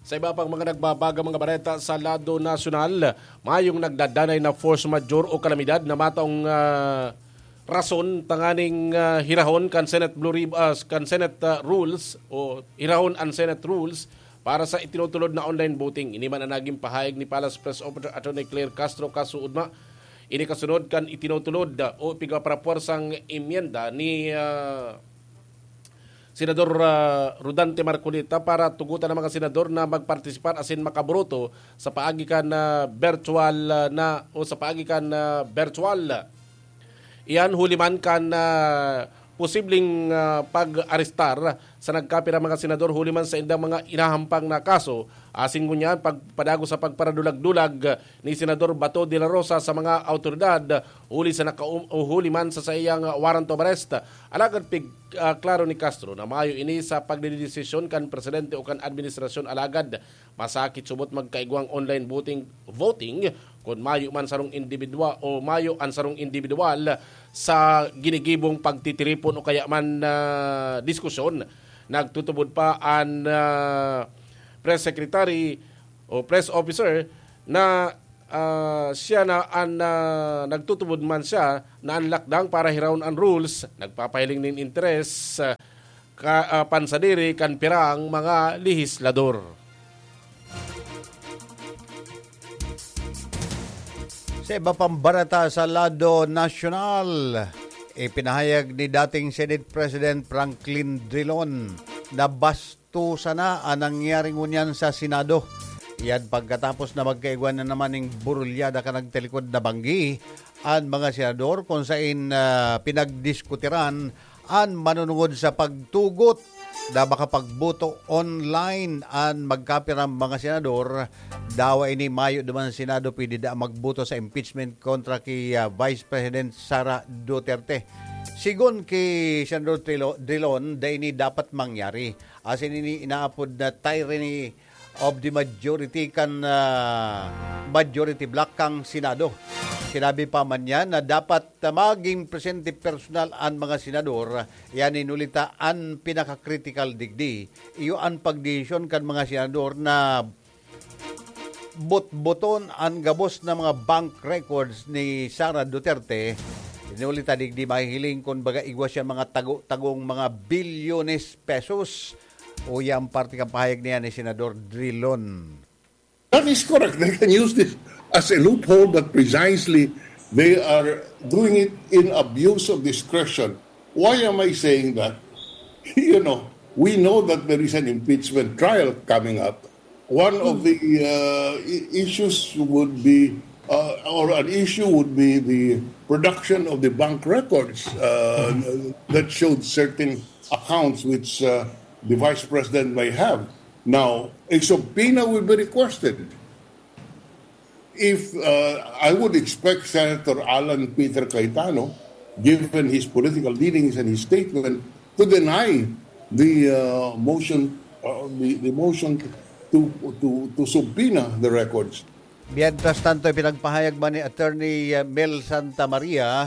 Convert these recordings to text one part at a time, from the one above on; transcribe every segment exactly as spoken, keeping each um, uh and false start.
Sa iba pang mga nagbabagang mga bareta sa lado nasyonal, mayong nagdadanay na force majeure o kalamidad na mataong, ah, rason tanganing, ah, hirahon kan Senate Blue Rib-, ah, kan Senate, ah, rules o hirahon an Senate rules para sa itinutulod na online voting. Ini man ang naging pahayag ni Palace Press Officer Attorney Claire Castro kasuodma. Ini kasunod kan itinutulod, ah, o pigpapapuwersang emyenda ni, ah, Senador, ah, Rodante Marcoleta para tugutan ang mga senador na magpartisipar asin makaboto sa paagi kan, ah, virtual, ah, na o sa paagi kan, ah, virtual. Iyan huli man kan, ah, posibleng, ah, pag-arestar sa nagkapirang mga senador huli man sa indang mga inahampang na kaso, asin ngunyan pagpadago sa pagparadulag-dulag ni Senador Bato de la Rosa sa mga awtoridad huli sa nakaum-, o huli man sa saiyang warrant of arrest. Alagad pig-, ah, klaro ni Castro na mayo ini sa pagdedesisyon kan presidente o kan administrasyon, alagad masakit subot magkaigwang online voting, voting kun mayo man sarong individual o mayo an sarong individual sa ginigibong pagtitiripon o kaya man, ah, diskusyon. Nagtutubod pa an, ah, press secretary o press officer na, ah, siya na an, ah, nagtutubod man siya na an lakdang para hirawon an rules nagpapahiling nin interes, ah, ka, ah, pansadiri kan pirang mga lehislador. Sa iba pang bareta sa lado nasyonal, ipinahayag ni dating Senate President Franklin Drilon na bastusa na an nangyari ngunyan sa Senado. Yan pagkatapos na magkaigwa na naman ning burulyada kan nagtalikod na banggi an mga senador, kung sain, ah, pinagdiskutiran an manunungod sa pagtugot na makapagboto online an magkapirang mga senador. Dawa ini mayo duman sa Senado pwede da magboto sa impeachment kontra ki, ah, Vice President Sara Duterte. Sigon ki Senador Trilo-, Drilon, da ini dapat mangyari. Asin ini inaapod na tyranny of the majority kan, ah, majority bloc kan Senado. Sinabi pa man niya na dapat, ah, maging presente personal an mga senador. Yan inulita an pinaka-critical digdi. Iyo an pagdesisyon kan mga senador na botboton an gabos na mga bank records ni Sara Duterte. Inulita digdi mahihiling kun baga igwa siya mga tago-tagong mga bilyones pesos. Uya ang parte kan pahayag niya ni Senador Drilon. That is correct. They can use this as a loophole, but precisely they are doing it in abuse of discretion. Why am I saying that? You know, we know that there is an impeachment trial coming up. One of the uh, i- issues would be, uh, or an issue would be the production of the bank records uh, that showed certain accounts which uh, the vice president may have. Now, a subpoena will be requested. If uh, I would expect Senator Alan Peter Cayetano, given his political leanings and his statement, to deny the uh, motion, uh, the, the motion to to to subpoena the records. Mientras tanto, ipinagpahayag man ni Attorney, uh, Mel Santa Maria,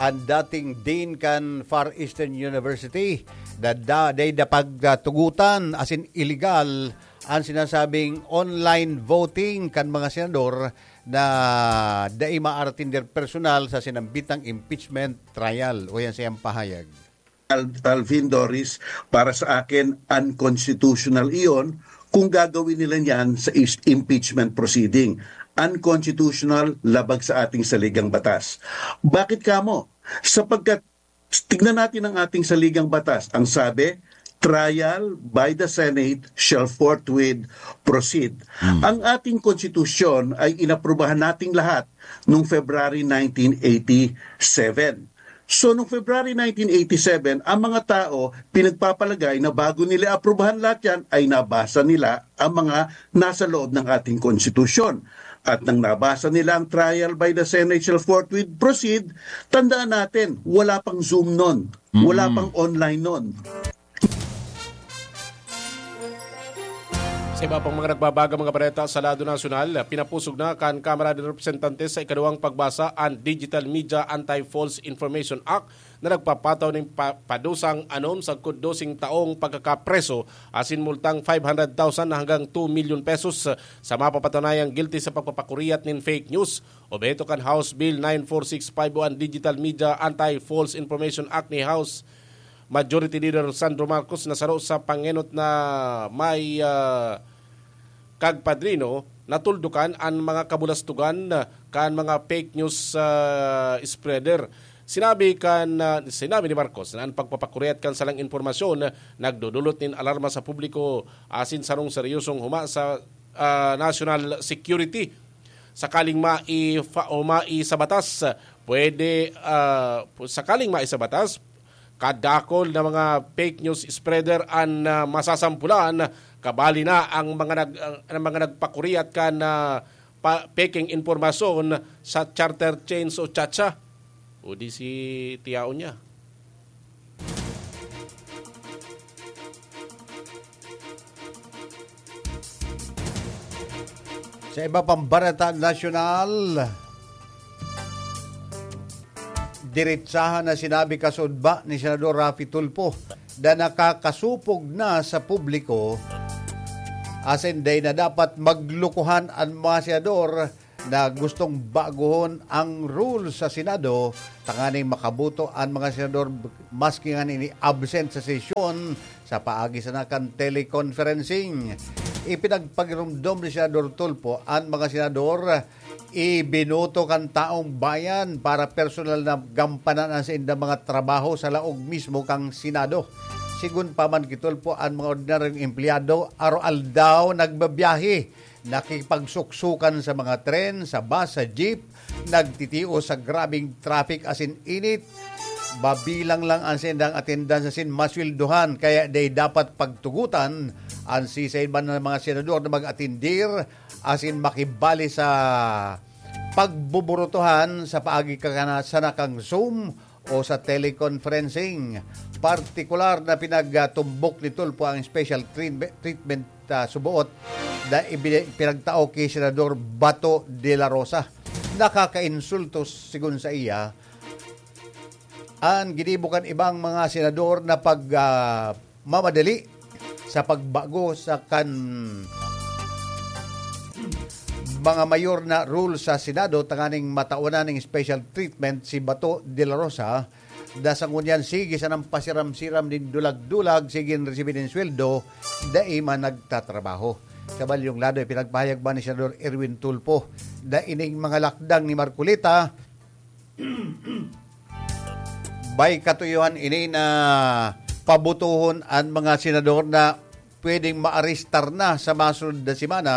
ang dating dean kan Far Eastern University, na da, dai da pagtugutan, asin illegal, ang sinasabing online voting kan mga senador na dai maaratinder personal sa sinambitang impeachment trial. O yan sa iyang pahayag. Al- Alvin, Doris, para sa akin, unconstitutional iyon kung gagawin nila niyan sa is- impeachment proceeding. Unconstitutional, labag sa ating saligang batas. Bakit kamo? Sapagkat, tignan natin ang ating saligang batas. Ang sabi, trial by the Senate shall forthwith proceed. Ang ating konstitusyon ay inaprubahan nating lahat noong February nineteen eighty-seven. So, noong February nineteen eighty-seven, ang mga tao pinagpapalagay na bago nila aprubahan lahat yan, ay nabasa nila ang mga nasa loob ng ating konstitusyon. At nang nabasa nila ang trial by the Senate shall forthwith proceed, tandaan natin, wala pang Zoom nun, wala pang online nun. Sa iba pang mga nagbabagang mga bareta sa lado nasyonal, pinapusog na kan Kamara de Representantes sa ikaduwang pagbasa an Digital Media Anti-False Information Act na nagpapataw nin pa-, padusang anom sagkod doseng taong pagkakapreso asin multang five hundred thousand hanggang two million pesos sa mapapatunayang guilty sa pagpapakuriat nin fake news. Obheto kan House Bill nine four six five o an Digital Media Anti-False Information Act ni House Majority Leader Sandro Marcos na saro sa pangenot na may, ah, kagpadrino, natuldukan an mga kabulastugan kan mga fake news, ah, spreader. Sinabi kan, ah, sinabi ni Marcos na an pagpapakuriat kan salang impormasyon nagdodulot nin alarma sa publiko asin sarong seryosong huma sa, ah, national security. Sakaling maifa-, o mai sa batas, pwede, ah, sakaling mai sa batas, kadakol na mga fake news spreader an, ah, masasampulan, kabali na ang mga nag-, ang, ang mga nagpakuriat kan, ah, pa-, pekeng impormasyon sa charter chains o chacha o di si tiyaon niya. Sa iba pang bareta nasyonal, diretsahan na sinabi kasudba ni Senador Raffy Tulfo na nakakasupog na sa publiko asin dai na dapat maglukuhan an mga senador na gustong bagohon ang rules sa Senado tanganing makaboto an mga senador maski ngani ini absent sa sesyon sa paagi sana kan teleconferencing. Ipinagpagiromdom ni Senador Tulfo an mga senador ibinoto kan taong bayan para personal na gampanan an saindang mga trabaho sa laog mismo kan Senado. Sigon pa man ki Tulfo, an mga ordinaryong empleyado araw-aldaw nagbabiyahe, nakikipagsuksukan sa mga tren, sa bus, sa jeep, nagtitios sa grabeng traffic asin init. Mabilang lang an saindang attendance asin masweldohan, kaya dai dapat pagtugotan an siisay man na mga senador na mag-atendir asin makibali sa pagbuburutuhan sa paagi kan sana kan Zoom o sa teleconferencing. Partikular na pinagtumbok ni Tulfo ang special treatme-, treatment, ah, suboot na ibini-, pinagtao ki Senador Bato de la Rosa. Nakakainsulto, sigon sa iya, an ginibo kan ibang mga senador na pag, ah, mamadali sa pagbago sa kan mga mayor na rule sa Senado tanganing matawanan ning special treatment si Bato de la Rosa, na sa ngunyan sige sanang pasiram-siram nin dulag-dulag, sige resibi nin sweldo, dai man nagtatrabaho. Sa balyong lado, ipinagpahayag man ni Senador Erwin Tulfo na ining mga lakdang ni Marcoleta, may katuyohan ini na pabutuhon an mga senador na pwedeng maarestar na sa masunod na semana,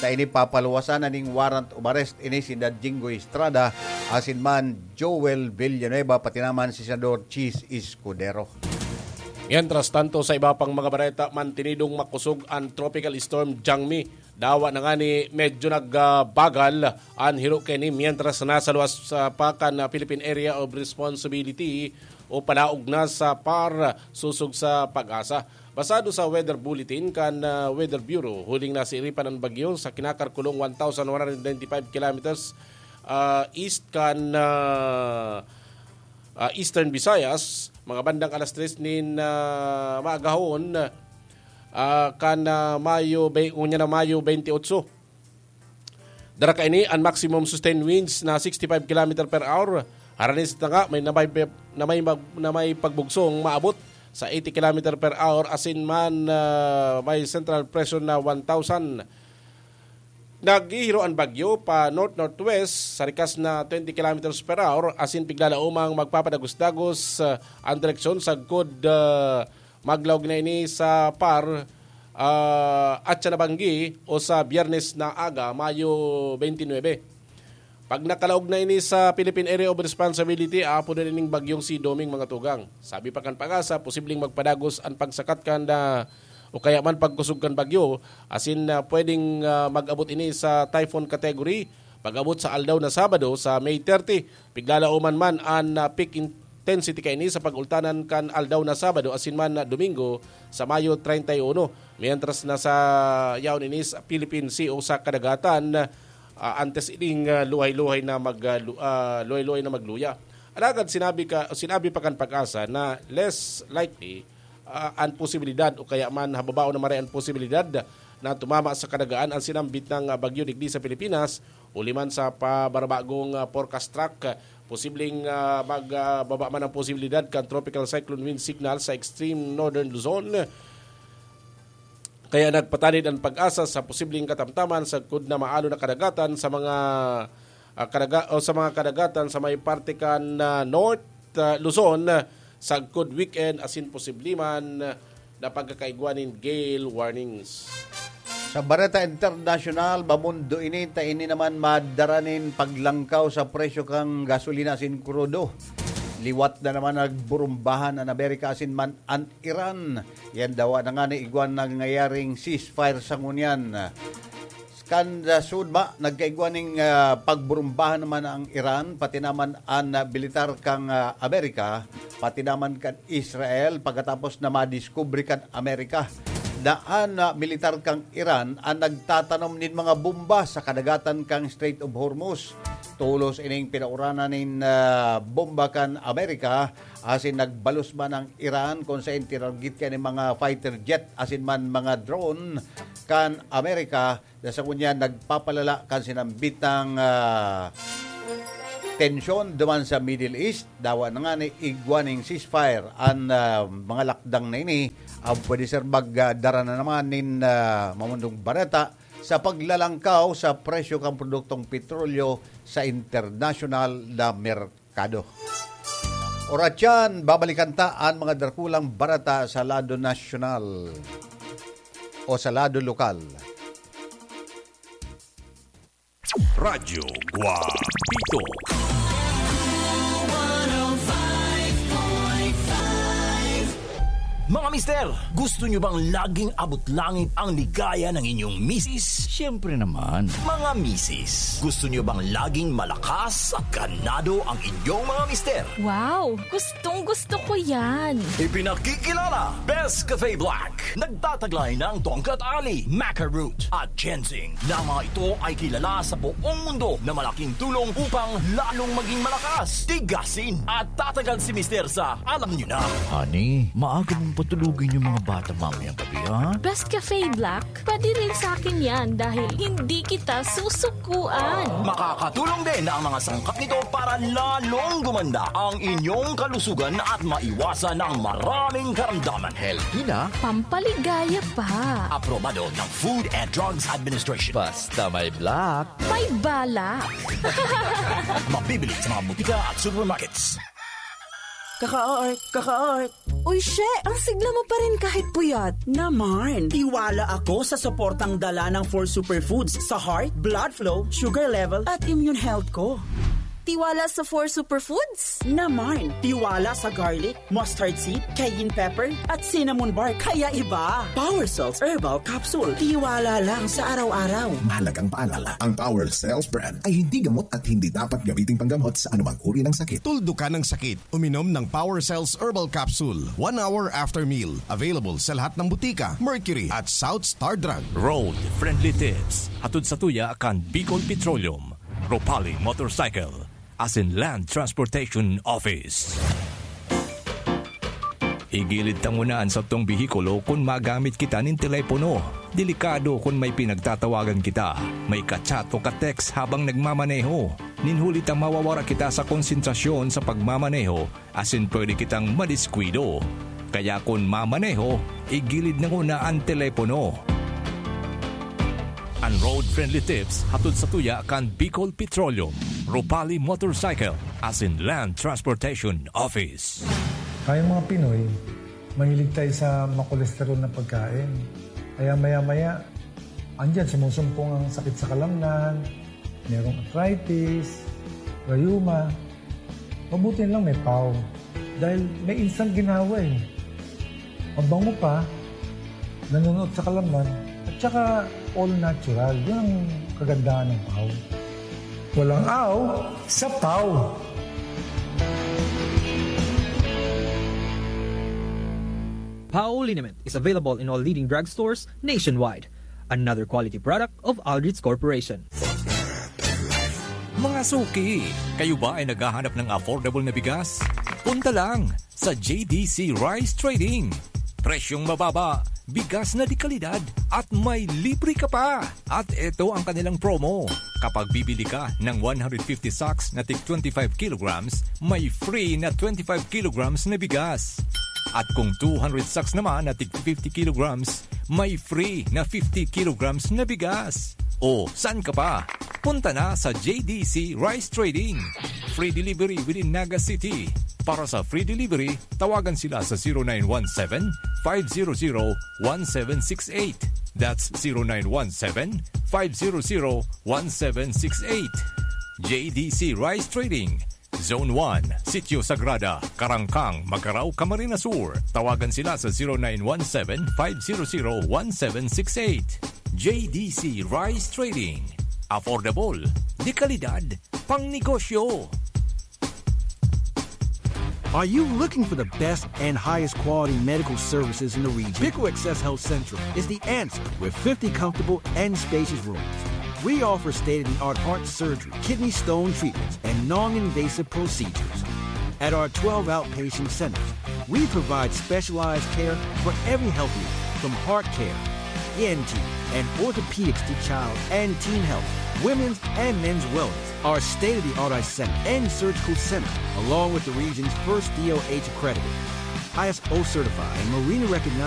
na ini papaluwasan na ning warrant of arrest ini si Jinggoy Estrada asin man Joel Villanueva, pati naman si Senador Chiz Escudero. Mientras tanto, sa iba pang mga bareta, mantinidong makusog an Tropical Storm Jangmi. Dawa na ngani medyo nagbagal an hiro kaini, mientras nasa luwas, ah, pa kan, ah, Philippine Area of Responsibility o palaog na sa PAR, sosog sa PAGASA. Basado sa weather bulletin kan, ah, Weather Bureau, huling nasiiripan an bagyo sa kinakalkulong one thousand one hundred ninety-five kilometers, ah, east kan, ah, ah, Eastern Visayas, mga bandang alas tres nin, ah, maagahon, ah, kan, ah, Mayo, be-, ngunyan na Mayo twenty-eight. Dara kaini an maximum sustained winds na sixty-five kilometer per hour. Harani sa tanga, may, na may, na may mag-, na may pagbugsong maabot sa eighty kilometer per hour, asin man, ah, may central pressure na one thousand. Naghihiro an bagyo pa north-northwest sa rikas na twenty kilometers per hour, asin piglalaomang magpapadagos-dagos, ah, an direksyon sagkod, ah, maglaog na ini sa PAR, ah, at sa nabanggi o sa Biyernes na aga, Mayo twenty-nine. Pag nakalaog na ini sa Philippine Area of Responsibility, aapodon ining bagyong si Doming, mga tugang. Sabi pa kan PAGASA, posibleng magpadagos an pagsakat kan, ah, o kaya man pagkusog kan bagyo, asin, ah, pwedeng, ah, mag-abot ini sa typhoon category pag-abot sa aldaw na Sabado sa May thirty. Piglalaoman man an, ah, peak in-, intensity kaini sa pag-ultanan kan aldaw na Sabado asin man na Domingo sa Mayo treinta y uno, mientras na sa yaon ini sa Philippine Sea o sa kadagatan, ah, antes ining, ah, luhay-luhay na mag, ah, lu-, ah, luhay-luhay na magluya. Alagad sinabi ka, sinabi pa kan PAGASA na less likely, ah, an posibilidad o kaya man hababaon na maray an posibilidad na tumama sa kadagaan an sinambit na, ah, bagyo digdi sa Pilipinas, huli man sa pabarabagong, ah, forecast track. Posibleng, ah, mag, ah, baba man ang posibilidad kan tropical cyclone wind signal sa extreme northern Luzon. Kaya nagpatanid an PAGASA sa posibleng katamtaman sagkod na maalo na kadagatan sa mga, ah, kadaga-, o sa mga kadagatan sa may parte kan, ah, North, ah, Luzon, sagkod weekend asin posible man na pagkakaigwa nin gale warnings. Sa Bareta Internasyonal, bamundo ini, ta ini naman madara nin paglangkaw sa presyo kan gasolina asin krudo. Liwat na naman nagburumbahan an Amerika asin man an Iran. Yan dawa na nga ni igwa nangyayaring ceasefire sa ngunyan. Kan, ah, sud ba, nagkaigwa ning, ah, pagburumbahan naman ang Iran, pati naman an, ah, militar kan, ah, Amerika, pati naman kan Israel, pagkatapos na madiskubre kan Amerika na an, ah, militar kan Iran an nagtatanom nin mga bomba sa kadagatan kan Strait of Hormuz. Tolos ining pinauranan nin, ah, bomba kan Amerika, asin nagbalos man ang Iran kun saen tinarget kaya nin mga fighter jet asin man mga drone kan Amerika, na sa ngunyan nagpapalala kan sinambitang, ah, tensyon duman sa Middle East. Dawa na nga ni igwa ning ceasefire an, ah, mga lakdang na ini. Ang pwede, sir, magdara na naman nin, ah, mamundong bareta sa paglalangkaw sa presyo kan produktong petrolyo sa internasyonal na merkado. Oras yan, babalikan ta an mga dakulang bareta sa lado nasyonal o sa lado lokal. Radyo Guapito. Mga mister, gusto nyo bang laging abot langit ang ligaya ng inyong misis? Siyempre naman. Mga misis, gusto nyo bang laging malakas at ganado ang inyong mga mister? Wow! Gustong gusto ko yan! Ipinakikilala, Best Cafe Black. Nagtataglay ng tongkat ali, maca root, at ginseng, na mga ito ay kilala sa buong mundo na malaking tulong upang lalong maging malakas, tigasin, at tatagal si mister sa alam nyo na. Honey, maaga mong patulugin yung mga bata mamayang gabi, ha? Best Cafe Black, pwede rin sa akin yan dahil hindi kita susukuan. Makakatulong din ang mga sangkap nito para lalong gumanda ang inyong kalusugan at maiwasan ang maraming karamdaman. Healthy na. Pampaligaya pa. Aprobado ng Food and Drugs Administration. Basta may black. May balak. Mabibili sa mga butika at supermarkets. Kaka-art, kaka-art. Uy, she! Ang sigla mo pa rin kahit puyat. Naman! Tiwala ako sa suportang dala ng four superfoods sa heart, blood flow, sugar level, at immune health ko. Tiwala sa four superfoods? Naman! Tiwala sa garlic, mustard seed, cayenne pepper, at cinnamon bark. Kaya iba! Power Cells Herbal Capsule. Tiwala lang sa araw-araw. Mahalagang paalala, ang Power Cells brand ay hindi gamot at hindi dapat gamiting panggamot sa anumang uri ng sakit. Tuldukan ang sakit. Uminom ng Power Cells Herbal Capsule one hour after meal. Available sa lahat ng butika, Mercury at South Star Drug. Road Friendly Tips. Hatod sa tuya kan Bicol Petroleum, Ropali Motorcycle, asin Land Transportation Office. Igilid ta nguna an satong behikulo kun magamit kita nin telepono. Delikado kun may pinagtatawagan kita, may ka-chat o ka-text habang nagmamaneho. Nin huli ta mawawara kita sa konsentrasyon sa pagmamaneho asin pwede kitang madiskuido. Kaya kun mamaneho, igilid na nguna an telepono. An Road Friendly Tips hatod sa tuya kan Bicol Petroleum, Ropali Motorcycle, asin Land Transportation Office. Tayong mga Pinoy, mahilig tayo sa makolesterol na pagkain. Kaya maya-maya, andyan, sumusumpong ang sakit sa kalamnan, merong arthritis, rayuma. Mabuti lang may pau. Dahil may instant ginawa eh. Mabango pa, nanunuot sa kalamnan, at saka all natural. Yun ang kagandahan ng pau. Walang aw sa pau. Pao liniment is available in all leading drugstores nationwide. Another quality product of Aldrich Corporation. Mga suki, kayo ba ay naghahanap ng affordable na bigas? Punta lang sa J D C Rice Trading. Presyong mababa, bigas na de kalidad, at may libre ka pa. At ito ang kanilang promo. Kapag bibili ka ng one hundred fifty sacks na tig twenty-five kilograms, may free na twenty-five kilograms na bigas. At kung two hundred sacks naman na tig fifty kilograms, may free na fifty kilograms na bigas. O, saan ka pa? Punta na sa J D C Rice Trading. Free delivery within Naga City. Para sa free delivery, tawagan sila sa zero nine one seven, five zero zero, one seven six eight. That's zero nine one seven, five zero zero, one seven six eight. J D C Rice Trading, Zone one, Sitio Sagrada, Karangkang, Magarao, Camarines Sur. Tawagan sila sa zero nine one seven, five zero zero, one seven six eight. J D C Rice Trading. Affordable, de kalidad, pang negosyo. Are you looking for the best and highest quality medical services in the region? Pico Access Health Central is the answer with fifty comfortable and spacious rooms. We offer state of the art heart surgery, kidney stone treatments, and non invasive procedures. At our twelve outpatient centers, we provide specialized care for every health need, from heart care, E N T, and orthopedics to child and teen health, women's and men's wellness. Our state of the art eye center and surgical center, along with the region's first D O H accredited, I S O certified, and Marina recognized